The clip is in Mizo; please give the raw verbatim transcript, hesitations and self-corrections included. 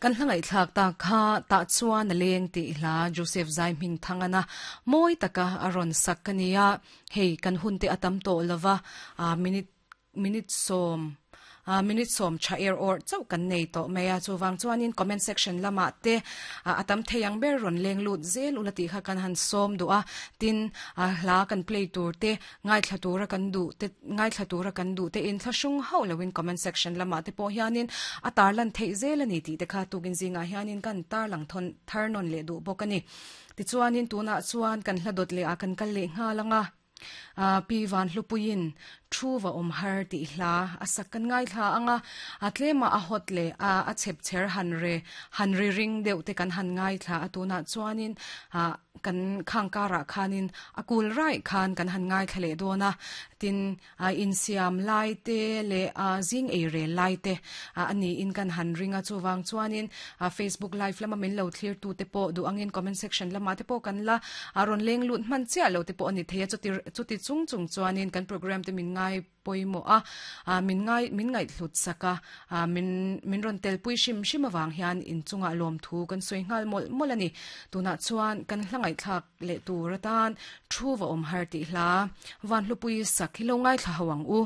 Kan hla ngaihthlak ta kha tah chuan a leng tih hla Joseph Zai hming thangana mawi taka a rawn sak ka nia. Hei kan hun te a tam tawh lova, a minute minute sawm a minute sawm tha er or chauh kan nei tawh mai a. Chuwang chuanin comment section lama te a tam thei ang ber rawn leng lut zel ula tih kha kan han sawm du a. Tin a hla kan play tur te ngai thla tura kan du te ngai thla tura kan du te in thlahrung hauh loin comment section lama te pawh hianin a tarlan thei zel ani tih te kha tukin zinga hianin kan tarlang thon thar non le du bawk ani. Tichuanin tunah chuan kan hla dawt leh a kan kal leh nghalanga a pi van hlupuiin thu va om har ti hla a sak kan ngai thla anga. A tlema a hot le a a chep cher han re han ri ring deuh te kan han ngai thla atuna chuanin a kan khang kara khanin a kul rai khan kan han ngai thlale dona. Tin a insiam lai te le a zing ei re lai te a ani in kan han ringa. Chuwang chuanin a Facebook live lama min lo thlir tu te po du angin comment section lama te po kan la a ron leng lut man chia lo te po ani theia. Chuti chuti chung chung chuanin kan program te min ngai poimo a a min ngai min ngai thlut saka a min min ron tel pui shim shim awang hian in chunga lom thu kan soi ngal mol mol ani. Tuna chuan kan hlangai thlak le tur atan thu va om har ti hla van hlupui sak hi lo ngai thla hawang u.